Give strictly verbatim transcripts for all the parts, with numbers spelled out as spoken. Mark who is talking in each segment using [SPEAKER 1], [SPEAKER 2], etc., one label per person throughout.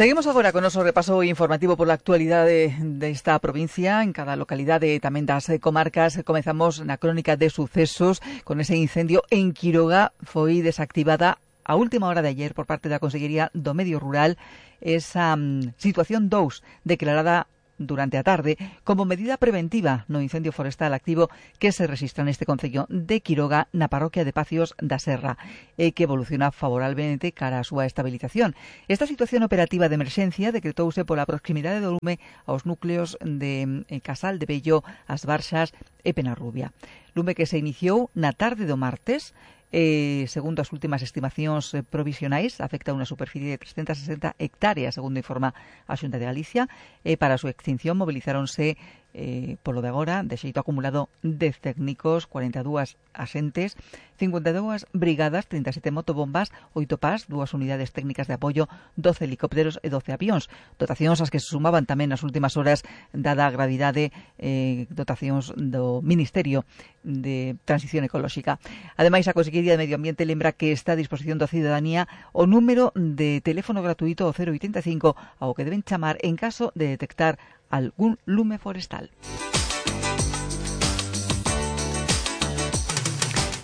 [SPEAKER 1] Seguimos agora con noso repaso informativo por la actualidade desta provincia en cada localidade e tamén das comarcas. Comezamos na crónica de sucesos con ese incendio en Quiroga. Foi desactivada a última hora de ayer por parte da Consellería do Medio Rural esa um, situación dous declarada durante a tarde como medida preventiva no incendio forestal activo que se rexistra neste concello de Quiroga na parroquia de Pacios da Serra e que evoluciona favorablemente cara á súa estabilización. Esta situación operativa de emerxencia decretouse pola proximidade do lume aos núcleos de Casal de Bello, As Barxas e Penarrubia. Lume que se iniciou na tarde do martes. Eh, segundo as últimas estimacións eh, provisionais, afecta unha superficie de trescentas sesenta hectáreas, segundo informa a Xunta de Galicia. Eh, para a súa extinción mobilizáronse eh, polo de agora, de xeito acumulado, dez técnicos, cuarenta e dúas axentes, cincuenta e dúas brigadas, trinta e sete motobombas, oito pas, dúas unidades técnicas de apoio, doce helicópteros e doce avións. Dotacións as que se sumaban tamén nas últimas horas, dada a gravidade, eh, dotacións do Ministerio de Transición Ecolóxica. Ademais, a Consellería de Medio Ambiente lembra que está a disposición da cidadanía o número de teléfono gratuito o cero oitenta e cinco ao que deben chamar en caso de detectar algún lume forestal.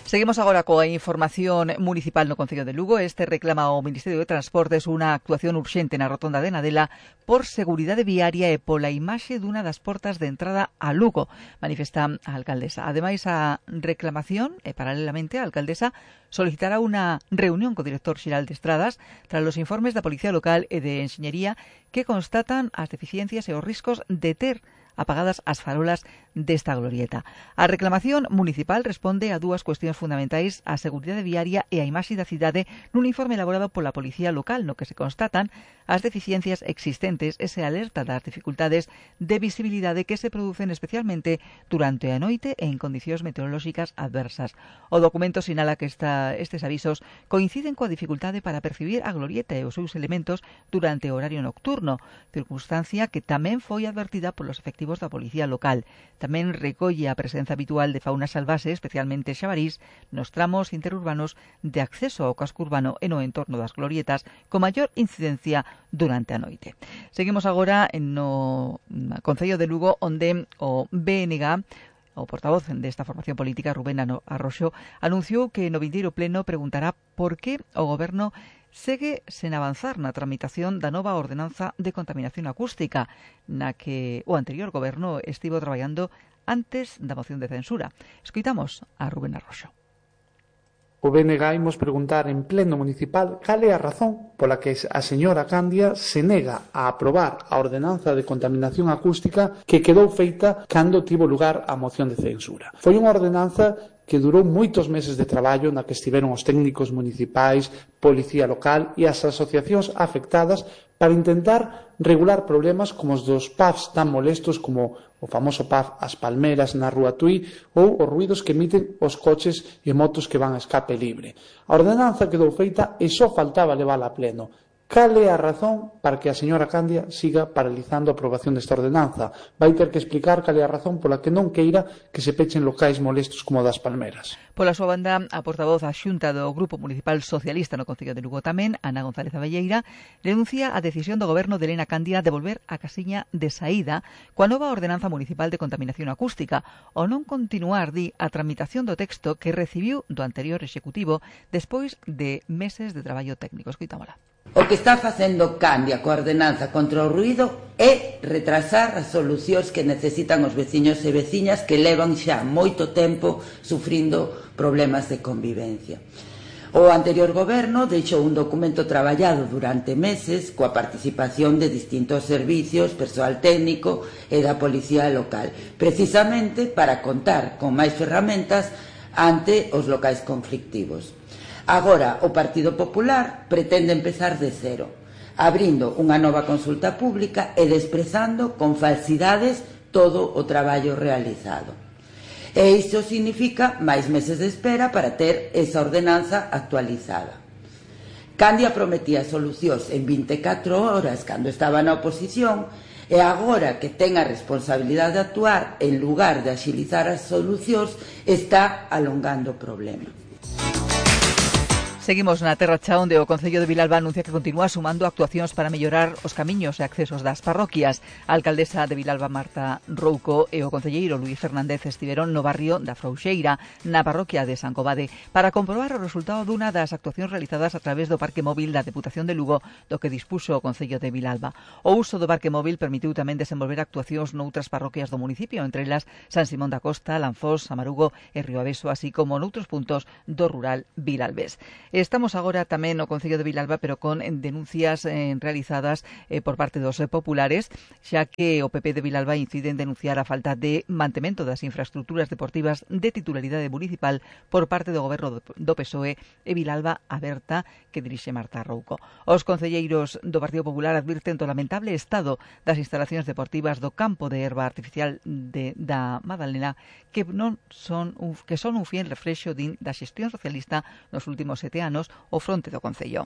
[SPEAKER 1] Seguimos agora coa información municipal no Concello de Lugo. Este reclama ao Ministerio de Transportes unha actuación urxente na rotonda de Nadela por seguridade viaria e pola imaxe dunha das portas de entrada a Lugo, manifesta a alcaldesa. Ademais, a reclamación, e paralelamente, a alcaldesa solicitará unha reunión co director xeral de Estradas tras os informes da Policía Local e de Enxeñería que constatan as deficiencias e os riscos de ter apagadas as farolas desta glorieta. A reclamación municipal responde a dúas cuestións fundamentais: a seguridade viaria e a imaxe da cidade nun informe elaborado pola Policía Local no que se constatan as deficiencias existentes e se alerta das dificultades de visibilidade que se producen especialmente durante a noite e en condicións meteorolóxicas adversas. O documento sinala que esta, estes avisos coinciden coa dificultade para percibir a glorieta e os seus elementos durante o horario nocturno, circunstancia que tamén foi advertida polos efectivos da Policía Local. Tamén recolle a presenza habitual de fauna salvaxe, especialmente xabarís, nos tramos interurbanos de acceso ao casco urbano e no entorno das glorietas con maior incidencia durante a noite. Seguimos agora no Concello de Lugo, onde o B N G, o portavoz desta formación política, Rubén Arroxo, anunciou que no vindeiro pleno preguntará por que o Goberno segue sen avanzar na tramitación da nova ordenanza de contaminación acústica, na que o anterior Goberno estivo traballando antes da moción de censura. Escoitamos a Rubén Arroxo.
[SPEAKER 2] O B N G imos preguntar en pleno municipal cal é a razón pola que a señora Candia se nega a aprobar a ordenanza de contaminación acústica que quedou feita cando tivo lugar a moción de censura. Foi unha ordenanza que durou moitos meses de traballo na que estiveron os técnicos municipais, Policía Local e as asociacións afectadas para intentar regular problemas como os dos pubs tan molestos como o famoso pub As Palmeras na Rúa Tui ou os ruidos que emiten os coches e motos que van a escape libre. A ordenanza quedou feita e só faltaba levala a pleno. Cal é a razón para que a señora Candia siga paralizando a aprobación desta ordenanza? Vai ter que explicar cal é a razón pola que non queira que se pechen locais molestos como o das Palmeras.
[SPEAKER 1] Pola súa banda, a portavoz a xunta do Grupo Municipal Socialista no Concello de Lugo tamén, Ana González Abelleira, denuncia a decisión do Goberno de Elena Candia de volver á casiña de saída coa nova ordenanza municipal de contaminación acústica, ou non continuar, di, a tramitación do texto que recibiu do anterior executivo despois de meses de traballo técnico. Escoitámola.
[SPEAKER 3] O que está facendo Candia coa ordenanza contra o ruido é retrasar as solucións que necesitan os veciños e veciñas que levan xa moito tempo sufrindo problemas de convivencia. O anterior goberno deixou un documento traballado durante meses coa participación de distintos servicios, persoal técnico e da Policía Local, precisamente para contar con máis ferramentas ante os locais conflictivos. Agora, o Partido Popular pretende empezar de cero, abrindo unha nova consulta pública e desprezando con falsidades todo o traballo realizado. E iso significa máis meses de espera para ter esa ordenanza actualizada. Candia prometía solucións en vinte e catro horas cando estaba na oposición e agora que ten a responsabilidade de actuar, en lugar de axilizar as solucións, está alongando o problema.
[SPEAKER 1] Seguimos na Terra Cha, onde o Concello de Vilalba anuncia que continúa sumando actuacións para mellorar os camiños e accesos das parroquias. A alcaldesa de Vilalba, Marta Rouco, e o concelleiro Luís Fernández estiveron no barrio da Frouxeira, na parroquia de San Covade, para comprobar o resultado dunha das actuacións realizadas a través do Parque Móvil da Deputación de Lugo, do que dispuxo o Concello de Vilalba. O uso do Parque Móvil permitiu tamén desenvolver actuacións noutras parroquias do municipio, entre elas San Simón da Costa, Lanfós, Amarugo e Rioaveso, así como noutros puntos do rural vilalbés. Estamos agora tamén no Concello de Vilalba, pero con denuncias eh, realizadas eh, por parte dos eh, populares, xa que o P P de Vilalba incide en denunciar a falta de mantemento das infraestructuras deportivas de titularidade municipal por parte do goberno do P S O E e Vilalba Aberta, que dirixe Marta Rouco. Os concelleiros do Partido Popular advirten do lamentable estado das instalacións deportivas do campo de herba artificial de, da Madalena, que non son un, que son un fiel reflexo din da xestión socialista nos últimos sete anos o fronte do Concello.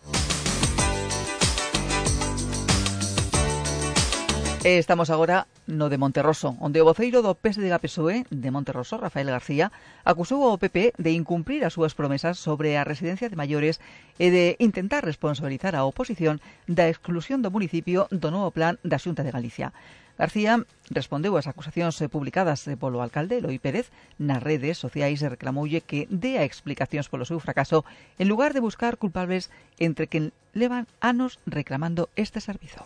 [SPEAKER 1] E estamos agora no de Monterroso, onde o voceiro do P S D G P S O E de Monterroso, Rafael García, acusou ao P P de incumprir as súas promesas sobre a residencia de maiores e de intentar responsabilizar a oposición da exclusión do municipio do novo plan da Xunta de Galicia. García respondeu ás acusacións publicadas polo alcalde Eloi Pérez nas redes sociais e reclamoulle que dea explicacións polo seu fracaso en lugar de buscar culpables entre quen levan anos reclamando este servizo.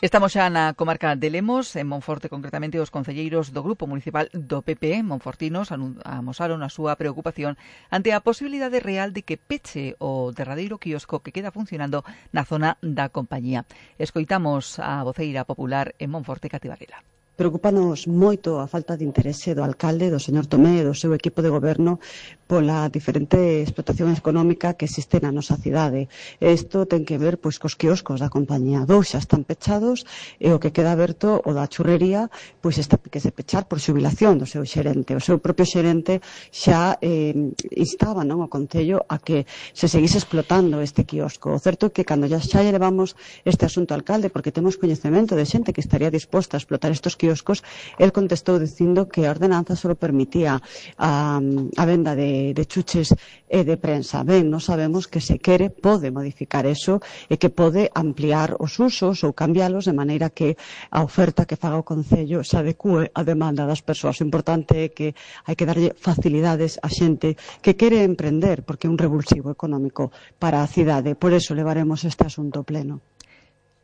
[SPEAKER 1] Estamos xa na comarca de Lemos, en Monforte concretamente. Os concelleiros do Grupo Municipal do P P monfortinos amosaron a súa preocupación ante a posibilidade real de que peche o derradeiro quiosco que queda funcionando na zona da compañía. Escoitamos a voceira popular en Monforte, Cati Varela.
[SPEAKER 4] Preocúpanos moito a falta de interese do alcalde, do señor Tomé e do seu equipo de goberno pola diferente explotación económica que existe na nosa cidade. Isto ten que ver pois cos quioscos da compañía. Dous xa están pechados e o que queda aberto, o da churrería, pois está que se pechar por xubilación do seu xerente. O seu propio xerente xa eh, instaba, non, o Concello a que se seguise explotando este quiosco. O certo é que cando xa xa levamos este asunto ao alcalde, porque temos coñecemento de xente que estaría disposta a explotar estos quioscos, el contestou dicindo que a ordenanza só permitía a, a venda de, de chuches e de prensa. Ben, non sabemos que se quere pode modificar eso e que pode ampliar os usos ou cambialos de maneira que a oferta que faga o Concello se adecue á demanda das persoas. O importante é que hai que darlle facilidades a xente que quere emprender, porque é un revulsivo económico para a cidade. Por eso levaremos este asunto pleno.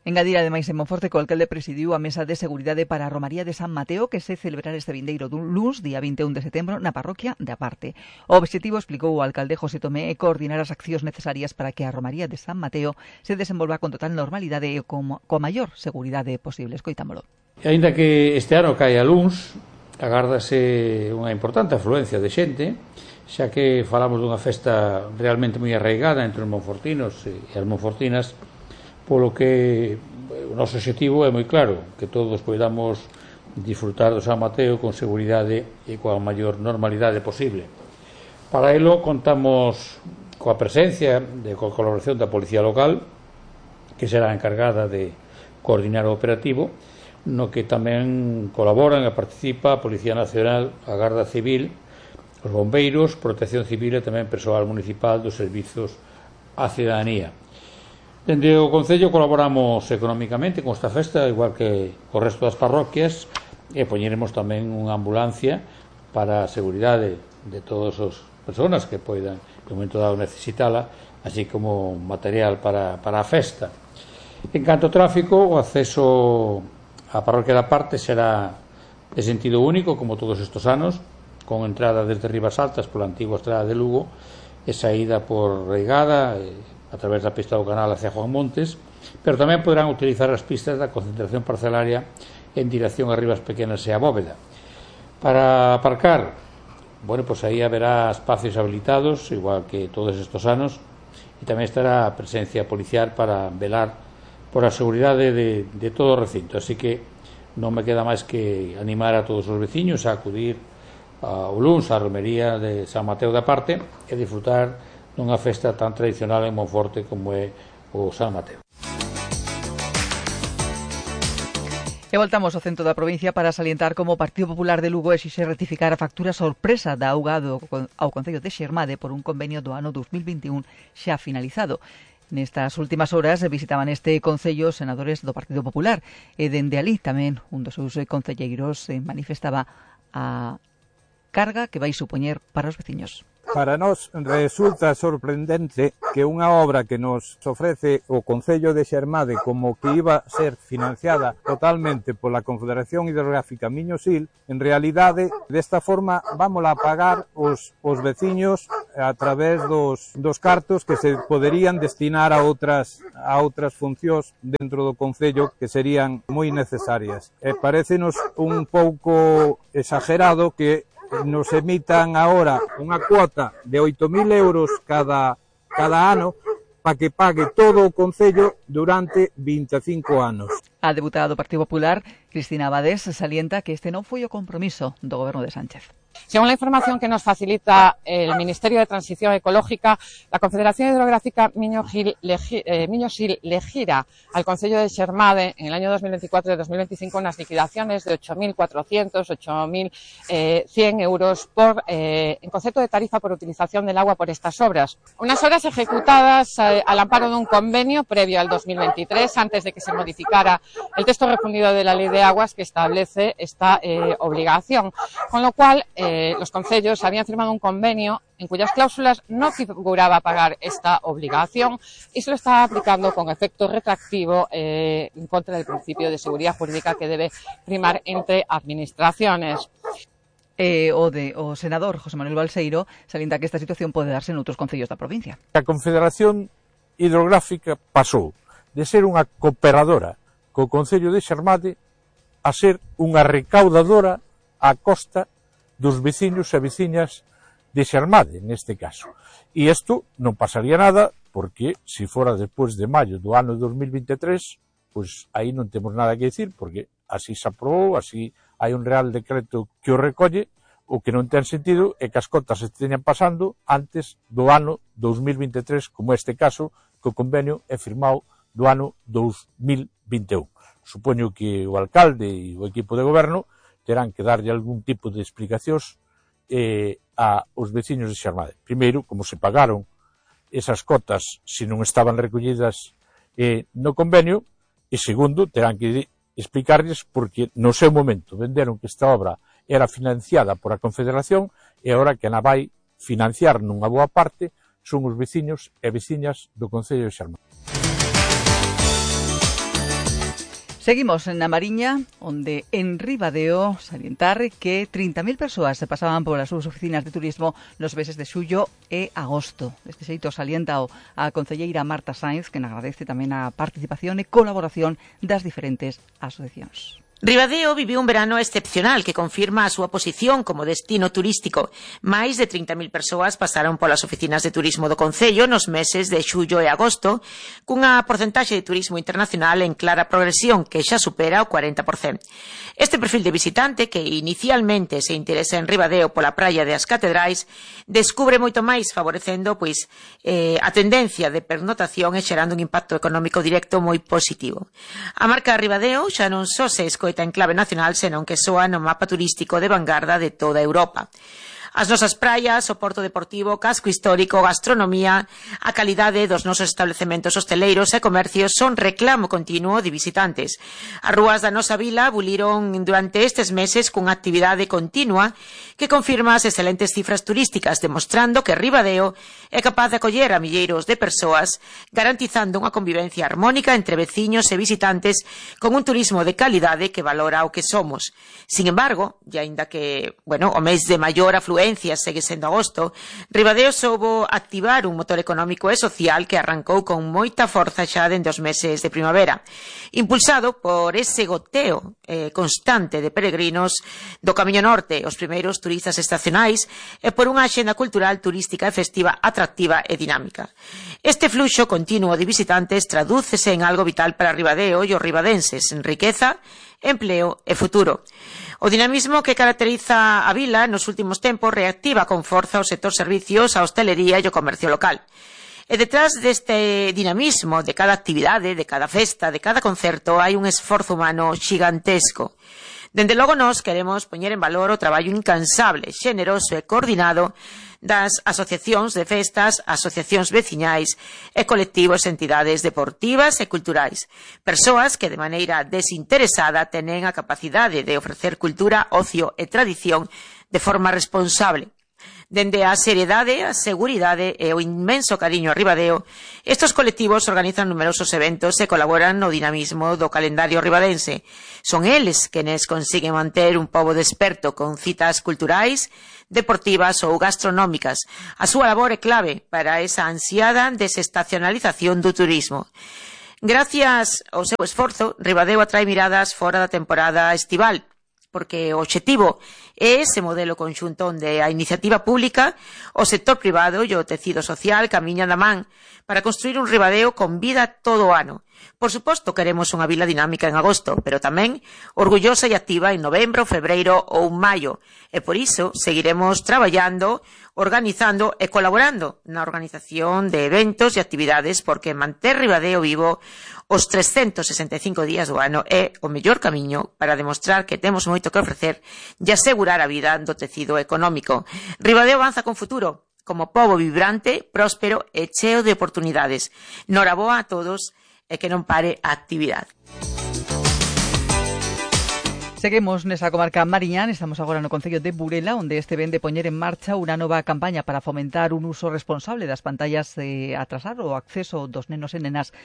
[SPEAKER 1] Engadir ademais en Monforte que o alcalde presidiu a mesa de seguridade para a Romaría de San Mateo que se celebrará este vindeiro dun luns, día vinte e un de setembro, na parroquia de Aparte. O obxectivo, explicou o alcalde José Tomé, é coordinar as accións necesarias para que a Romaría de San Mateo se desenvolva con total normalidade e con coa maior seguridade posible. Escoitámolo.
[SPEAKER 5] E aínda que este ano cae a luns, agárdase unha importante afluencia de xente, xa que falamos dunha festa realmente moi arraigada entre os monfortinos e as monfortinas, polo que o noso objetivo é moi claro, que todos poidamos disfrutar do San Mateo con seguridade e coa maior normalidade posible. Para elo contamos coa presencia e coa colaboración da Policía Local, que será encargada de coordinar o operativo, no que tamén colaboran e participa a Policía Nacional, a Garda Civil, os bombeiros, Protección Civil e tamén persoal municipal dos servizos á cidadanía. Dende o Concello colaboramos económicamente con esta festa, igual que o resto das parroquias, e poñeremos tamén unha ambulancia para a seguridade de todas as persoas que poidan, no momento dado, necesitala, así como material para, para a festa. En canto ao tráfico, o acceso á parroquia da Parte será de sentido único, como todos estes anos, con entrada desde Ribas Altas pola antigua estrada de Lugo e saída por Reigada, e a través da pista do canal hacia Juan Montes, pero tamén poderán utilizar as pistas da concentración parcelaria en dirección a Ribas Pequenas e a Bóveda. Para aparcar, bueno, pois aí haberá espacios habilitados, igual que todos estes anos, e tamén estará a presencia policial para velar por a seguridade de, de todo o recinto. Así que non me queda máis que animar a todos os veciños a acudir ao luns á romería de San Mateo da Parte e disfrutar nunha festa tan tradicional en Monforte como é o San Mateo.
[SPEAKER 1] E E voltamos ao centro da provincia para salientar como o Partido Popular de Lugo exixe rectificar a factura sorpresa da auga do, ao Concello de Xermade por un convenio do ano dos mil vinte e un xa finalizado. Nestas últimas horas visitaban este concello senadores do Partido Popular e dende ali tamén un dos seus concelleiros manifestaba a carga que vai supoñer para os veciños.
[SPEAKER 6] Para nós resulta sorprendente que unha obra que nos ofrece o Concello de Xermade como que iba a ser financiada totalmente pola Confederación Hidrográfica Miño-Sil, en realidade, desta forma, vámola a pagar os, os veciños a través dos, dos cartos que se poderían destinar a outras, a outras funcións dentro do Concello que serían moi necesarias. E parécenos un pouco exagerado que nos emitan agora unha cuota de oito mil euros cada, cada ano para que pague todo o Concello durante vinte e cinco anos.
[SPEAKER 1] A deputada do Partido Popular, Cristina Abades, salienta que este non foi o compromiso do Goberno de Sánchez.
[SPEAKER 7] Según la información que nos facilita el Ministerio de Transición Ecológica, la Confederación Hidrográfica Miño-Sil eh, Miño-Sil le gira al Concello de Xermade en el año dos mil veinticuatro y dos mil veinticinco unas liquidaciones de ocho mil cuatrocientos, ocho mil cien euros por, eh, en concepto de tarifa por utilización del agua por estas obras. Unas obras ejecutadas eh, al amparo de un convenio previo al dos mil veintitrés, antes de que se modificara el texto refundido de la Ley de Aguas que establece esta eh, obligación. Con lo cual, eh, Eh, los concellos habían firmado un convenio en cuyas cláusulas no figuraba pagar esta obligación y se lo está aplicando con efecto retroactivo eh, en contra del principio de seguridad jurídica que debe primar entre administraciones.
[SPEAKER 1] Eh, o de o senador José Manuel Balseiro salienta que esta situación pode darse en outros concellos da provincia.
[SPEAKER 6] A Confederación Hidrográfica pasou de ser unha cooperadora co Concello de Xermade a ser unha recaudadora a costa dos veciños e veciñas de Xermade, neste caso. E isto non pasaría nada, porque se fora despois de maio do ano dos mil veintitrés, pois aí non temos nada que dicir, porque así se aprobou, así hai un real decreto que o recolle, o que non ten sentido é que as cotas se teñan pasando antes do ano dos mil veintitrés, como este caso, que o convenio é firmado do ano dos mil vinte e un. Supoño que o alcalde e o equipo de goberno terán que darlle algún tipo de explicacións eh, a os veciños de Xermade. Primeiro, como se pagaron esas cotas se non estaban recollidas eh, no convenio, e segundo, terán que explicarlles porque no seu momento venderon que esta obra era financiada por a Confederación e agora que na vai financiar nunha boa parte son os veciños e veciñas do Concello de Xermade.
[SPEAKER 1] Seguimos en a Mariña, onde en Ribadeo salientar que trinta mil persoas se pasaban polas súas oficinas de turismo nos meses de xullo e agosto. Deste xeito salienta a concelleira Marta Sainz, que agradece tamén a participación e colaboración das diferentes asociacións.
[SPEAKER 8] Ribadeo viviu un verano excepcional que confirma a súa posición como destino turístico. Máis de trinta mil persoas pasaron polas oficinas de turismo do Concello nos meses de xullo e agosto, cunha porcentaxe de turismo internacional en clara progresión que xa supera o cuarenta por cento. Este perfil de visitante, que inicialmente se interesa en Ribadeo pola praia de As Catedrais, descubre moito máis favorecendo pois eh, a tendencia de pernotación e xerando un impacto económico directo moi positivo. A marca Ribadeo xa non só se escoita en clave nacional, senón que soa no mapa turístico de vanguarda de toda Europa. As nosas praias, o porto deportivo, casco histórico, gastronomía, a calidade dos nosos establecementos hosteleiros e comercios son reclamo continuo de visitantes. As rúas da nosa vila buliron durante estes meses cunha actividade continua que confirma as excelentes cifras turísticas, demostrando que Ribadeo é capaz de acoller a milleiros de persoas, garantizando unha convivencia armónica entre veciños e visitantes con un turismo de calidade que valora o que somos. Sin embargo, e aínda que, bueno, o mes de maior afluencia segue sendo agosto, Ribadeo soubo activar un motor económico e social que arrancou con moita forza xa dende os meses de primavera, impulsado por ese goteo eh, constante de peregrinos do Camiño Norte, os primeiros turistas estacionais e por unha axenda cultural, turística e festiva atractiva e dinámica. Este fluxo continuo de visitantes tradúcese en algo vital para Ribadeo e os ribadenses, en riqueza, empleo e futuro. O dinamismo que caracteriza a vila nos últimos tempos reactiva con forza o sector servicios, a hostelería e o comercio local. E detrás deste dinamismo de cada actividade, de cada festa, de cada concerto, hai un esforzo humano xigantesco. Dende logo nós queremos poñer en valor o traballo incansable, xeneroso e coordinado das asociacións de festas, asociacións veciñais e colectivos e entidades deportivas e culturais. Persoas que de maneira desinteresada tenen a capacidade de ofrecer cultura, ocio e tradición de forma responsable. Dende a seriedade, a seguridade e o inmenso cariño a Ribadeo, estes colectivos organizan numerosos eventos e colaboran no dinamismo do calendario ribadense. Son eles quenes consiguen manter un pobo desperto con citas culturais, deportivas ou gastronómicas. A súa labor é clave para esa ansiada desestacionalización do turismo. Gracias ao seu esforzo, Ribadeo atrae miradas fora da temporada estival, porque o obxectivo é ese modelo conxunto onde a iniciativa pública, o sector privado e o tecido social camiñan da man para construir un Ribadeo con vida todo o ano. Por suposto, queremos unha vila dinámica en agosto, pero tamén orgullosa e activa en novembro, febreiro ou maio. E por iso seguiremos traballando, organizando e colaborando na organización de eventos e actividades, porque manter Ribadeo vivo os trescentos sesenta e cinco días do ano é o mellor camiño para demostrar que temos moito que ofrecer e asegurar a vida do tecido económico. Ribadeo avanza con futuro, como pobo vibrante, próspero e cheo de oportunidades. Noraboa a todos e que non pare a actividade.
[SPEAKER 1] Seguimos nesa comarca mariñán, estamos agora no concello de Burela, onde este ven de poñer en marcha unha nova campaña para fomentar un uso responsable das pantallas e atrasar o acceso dos nenos e nenas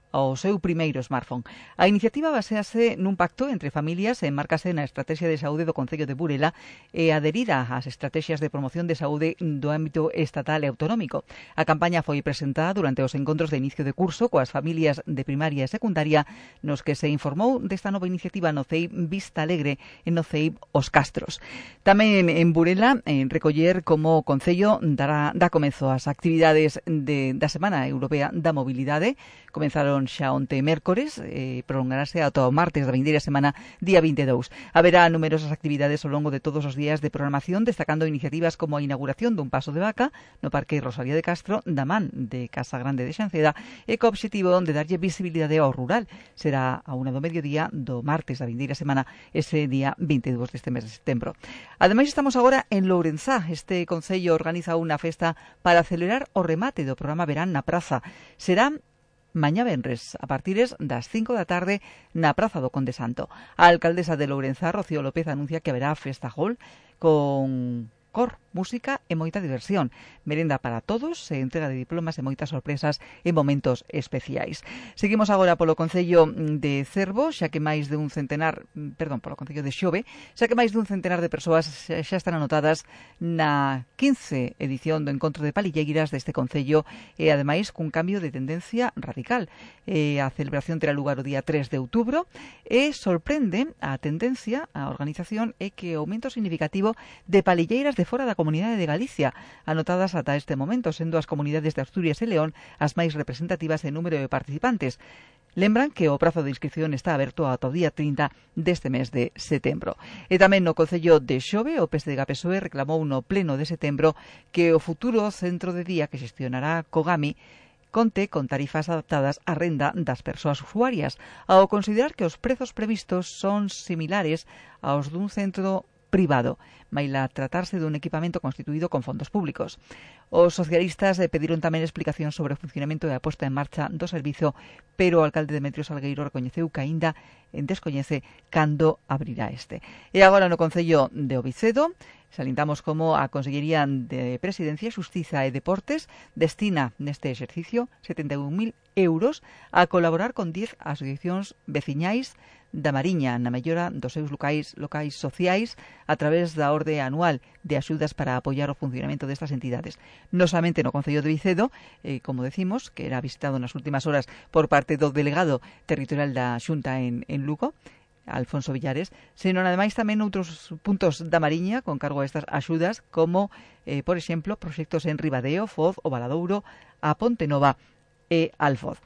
[SPEAKER 1] ao seu primeiro smartphone. A iniciativa basease nun pacto entre familias e enmarcase na Estrategia de Saúde do Concello de Burela e adherida ás estrategias de promoción de saúde do ámbito estatal e autonómico. A campaña foi presentada durante os encontros de inicio de curso coas familias de primaria e secundaria, nos que se informou desta nova iniciativa no C E I Vista Alegre e no C E I Os Castros. Tamén en Burela, en recoller como Concello dará, dá comezo ás actividades de, da Semana Europea da Mobilidade. Comenzaron xa onte mércores e prolongarase ata o martes da vindeira semana, día vinte e dous. Haberá numerosas actividades ao longo de todos os días de programación, destacando iniciativas como a inauguración dun paso de vaca no Parque Rosalía de Castro, da man de Casa Grande de Xanceda, e co obxectivo de darlle visibilidade ao rural. Será a unha do mediodía do martes da vindeira semana, ese día vinte e dous deste mes de setembro. Ademais, estamos agora en Lourenzá. Este concello organiza unha festa para celebrar o remate do programa Verán na Praza. Será mañá venres, a partires das cinco da tarde, na Praza do Conde Santo. A alcaldesa de Lourenzá, Rocío López, anuncia que haberá festa hall con cor, música e moita diversión, merenda para todos e entrega de diplomas e moitas sorpresas en momentos especiais. Seguimos agora polo concello de Cervo, xa que máis de un centenar, perdón, polo concello de Xove, xa que máis de un centenar de persoas xa están anotadas na quince edición do encontro de palilleiras deste concello e ademais cun cambio de tendencia radical. E a celebración terá lugar o día tres de outubro e sorprende a tendencia, a organización, é que o aumento significativo de palilleiras de fora da Comunidade de Galicia, anotadas ata este momento, sendo as comunidades de Asturias e León as máis representativas en número de participantes. Lembran que o prazo de inscripción está aberto ata o día trinta deste mes de setembro. E tamén no concello de Xove, o P S D G P S O E reclamou no pleno de setembro que o futuro centro de día que xestionará Cogami conte con tarifas adaptadas á renda das persoas usuarias, ao considerar que os prezos previstos son similares aos dun centro privado, maila tratarse dun equipamento constituído con fondos públicos. Os socialistas pediron tamén explicación sobre o funcionamento e a posta en marcha do servizo, pero o alcalde Demetrio Salgueiro recoñeceu que aínda descoñece cando abrirá este. E agora no concello de Ovicedo, salintamos como a Consellería de Presidencia, Xustiza e Deportes destina neste exercicio setenta e un mil euros a colaborar con dez asociacións veciñais da Mariña na mellora dos seus locais, locais sociais a través da orde anual de axudas para apoiar o funcionamento destas entidades. Non somente no concello de Vicedo, eh, como decimos, que era visitado nas últimas horas por parte do delegado territorial da Xunta en, en Lugo, Alfonso Villares, senón ademais tamén outros puntos da Mariña con cargo a estas axudas, como, eh, por exemplo, proxectos en Ribadeo, Foz, o Valadouro, a Ponte Nova e Alfoz.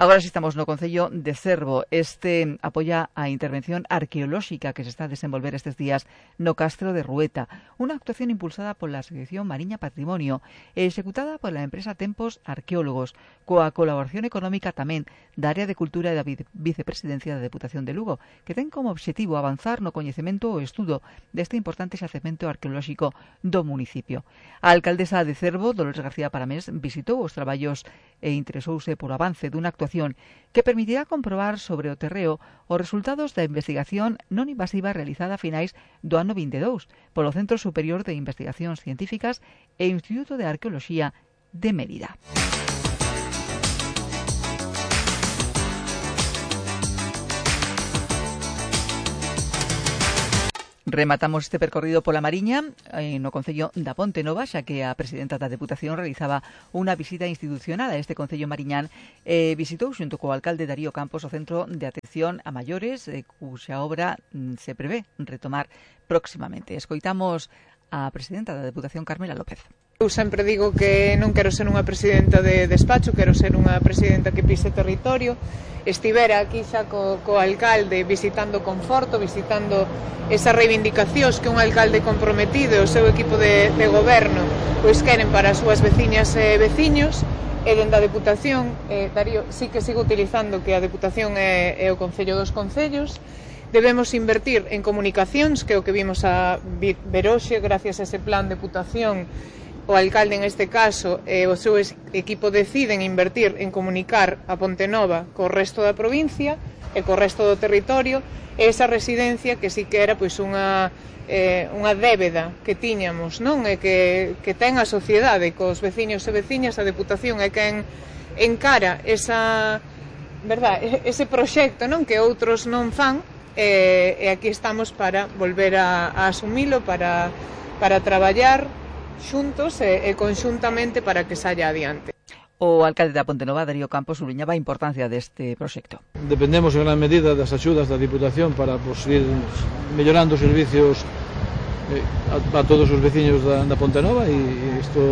[SPEAKER 1] Agora si estamos no Concello de Cervo. Este apoia a intervención arqueolóxica que se está a desenvolver estes días no Castro de Rueta, unha actuación impulsada pola Asociación Mariña Patrimonio e executada pola empresa Tempos Arqueólogos, coa colaboración económica tamén da Área de Cultura e da Vicepresidencia da Deputación de Lugo, que ten como obxectivo avanzar no coñecemento ou estudo deste importante xacemento arqueolóxico do municipio. A alcaldesa de Cervo, Dolores García Paramés, visitou os traballos e interesouse por avance dunha actuación que permitirá comprobar sobre o terreo os resultados da investigación non invasiva realizada a finais do ano vinte e dous polo Centro Superior de Investigacións Científicas e Instituto de Arqueoloxía de Mérida. Rematamos este percorrido pola Mariña no Concello da Ponte Nova, xa que a presidenta da Deputación realizaba unha visita institucional a este Concello mariñán e visitou xunto co alcalde Darío Campos o Centro de Atención a Maiores, cuxa obra se prevé retomar próximamente. Escoitamos a presidenta da Deputación, Carmela López.
[SPEAKER 9] Eu sempre digo que non quero ser unha presidenta de despacho, quero ser unha presidenta que pise territorio. Estivera aquí xa co, co alcalde visitando Conforto, visitando esas reivindicacións que un alcalde comprometido e o seu equipo de, de goberno pois queren para as súas veciñas e veciños. E dende a Deputación, eh, Darío, sí que sigo utilizando que a Deputación é, é o Concello dos Concellos. Debemos invertir en comunicacións, que é o que vimos a ver hoxe, gracias a ese plan de Deputación. O alcalde, en este caso, e o seu equipo deciden invertir en comunicar a Ponte Nova co resto da provincia e co resto do territorio, e esa residencia que sí que era pois unha, eh, unha débeda que tiñamos, non? E que, que ten a sociedade cos veciños e veciñas, a Deputación é quen encara esa, verdad, ese proxecto, non? Que outros non fan, e, e aquí estamos para volver a, a asumilo, para, para traballar xuntos e, e conxuntamente para que saia adiante.
[SPEAKER 1] O alcalde da Ponte Nova, Darío Campos, subliñaba a importancia deste proxecto.
[SPEAKER 10] Dependemos en gran medida das axudas da Diputación para pues, ir mellorando os servicios eh, a, a todos os veciños da, da Ponte Nova, e, e isto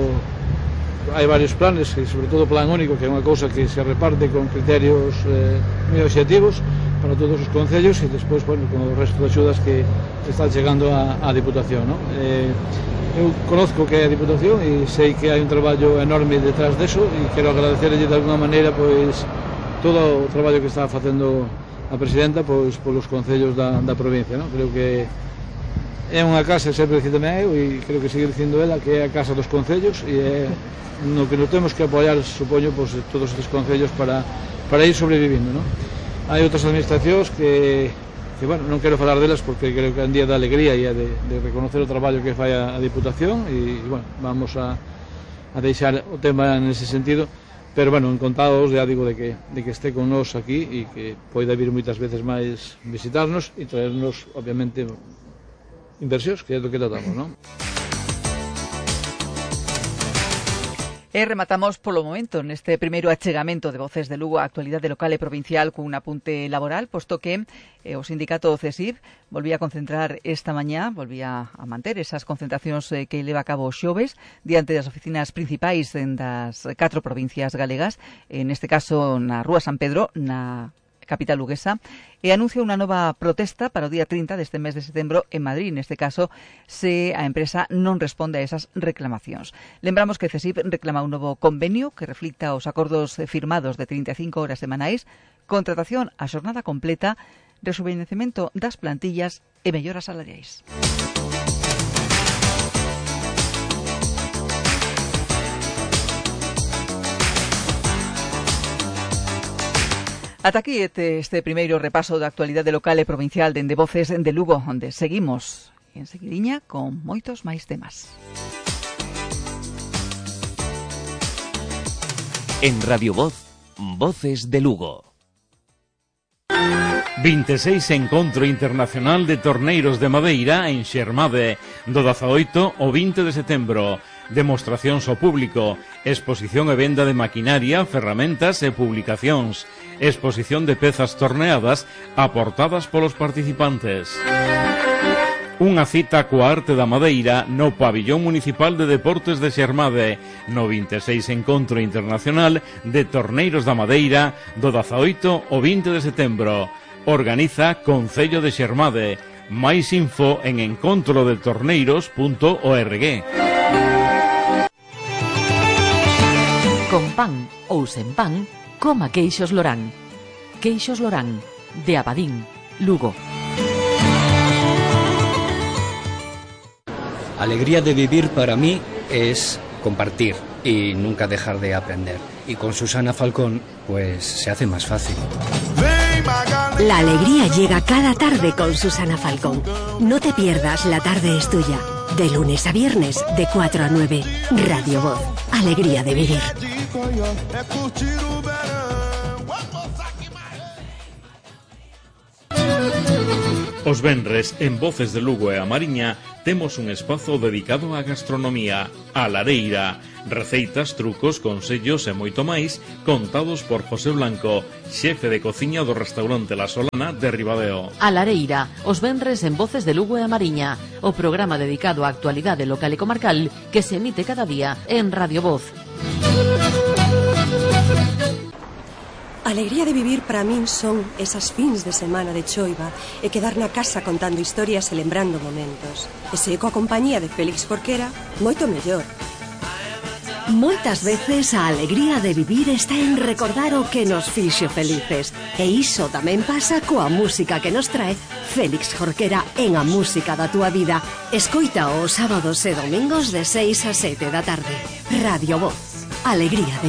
[SPEAKER 10] hai varios planes, e sobre todo o plan único, que é unha cousa que se reparte con criterios eh, moi obxectivos para todos os concellos, e despois, bueno, con o resto de axudas que están chegando á Diputación, ¿no? Eh, eu conozco que é a Diputación e sei que hai un traballo enorme detrás deso, e quero agradecerlle de alguna maneira pois todo o traballo que está facendo a presidenta pois polos concellos da, da provincia, ¿no? Creo que é unha casa, sempre dicíndome eu, e creo que seguir dicindo ela, que é a casa dos concellos, e é no que nos temos que apoiar, supoño, pois, todos estes concellos para, para ir sobrevivindo, ¿no? Hai outras administracións que que, bueno, non quero falar delas porque creo que é un día de alegría e de, de reconocer o traballo que fai a, a Diputación, e, bueno, vamos a, a deixar o tema nese sentido, pero, bueno, encantados, já digo, de que, de que este con nós aquí e que poida vir moitas veces máis visitarnos e traernos, obviamente, inversións, que é do que tratamos, non?
[SPEAKER 1] E rematamos polo momento neste primeiro achegamento de Voces de Lugo á actualidade local e provincial cun apunte laboral, posto que eh, o sindicato CESIF volvía a concentrar esta mañá, volvía a manter esas concentracións eh, que leva a cabo xoves diante das oficinas principais das catro provincias galegas, en este caso na Rúa San Pedro, na capital luguesa, e anuncia unha nova protesta para o día trinta deste mes de setembro en Madrid, neste caso, se a empresa non responde a esas reclamacións. Lembramos que CESIF reclama un novo convenio que reflicta os acordos firmados de trinta e cinco horas semanais, contratación a xornada completa, rejuvenecemento das plantillas e melloras salariais. Ata aquí este, este primeiro repaso da actualidade local e provincial dende Voces de Lugo, onde seguimos en seguidiña con moitos máis temas.
[SPEAKER 11] En Radio Voz, Voces de Lugo.
[SPEAKER 12] vinte e seis Encontro Internacional de Torneiros de Madeira en Xermade, do dezaoito ao vinte de setembro. Demostracións ao público, exposición e venda de maquinaria, ferramentas e publicacións, exposición de pezas torneadas aportadas polos participantes. Unha cita coa arte da madeira no Pabillón Municipal de Deportes de Xermade, no vinte e seis Encontro Internacional de Torneiros da Madeira do dezaoito ao vinte de setembro. Organiza Concello de Xermade. Máis info en encontro de torneiros punto org.
[SPEAKER 13] Con pan ou sen pan, coma queixos Lorán. Queixos Lorán, de Abadín, Lugo.
[SPEAKER 14] Alegría de vivir para mí es compartir y nunca dejar de aprender. Y con Susana Falcón, pues se hace más fácil.
[SPEAKER 15] La alegría llega cada tarde con Susana Falcón. No te pierdas La tarde es tuya. De lunes a viernes, de cuatro a nueve. Radio Voz. Alegría de vivir.
[SPEAKER 12] Os venres, en Voces de Lugo e a Mariña, temos un espazo dedicado á gastronomía, a lareira, receitas, trucos, consellos e moito máis, contados por José Blanco, xefe de cociña do restaurante La Solana de Ribadeo.
[SPEAKER 13] A lareira, os venres en Voces de Lugo e a Mariña, o programa dedicado á actualidade local e comarcal que se emite cada día en Radio Voz.
[SPEAKER 16] Alegría de vivir para min son esas fins de semana de choiva e quedar na casa contando historias e lembrando momentos. E se coa compañía de Félix Jorquera, moito mellor.
[SPEAKER 15] Moitas veces a alegría de vivir está en recordar o que nos fixo felices. E iso tamén pasa coa música que nos trae Félix Jorquera en A Música da Túa Vida. Escoita os sábados e domingos de seis a sete da tarde. Radio Voz. Alegría de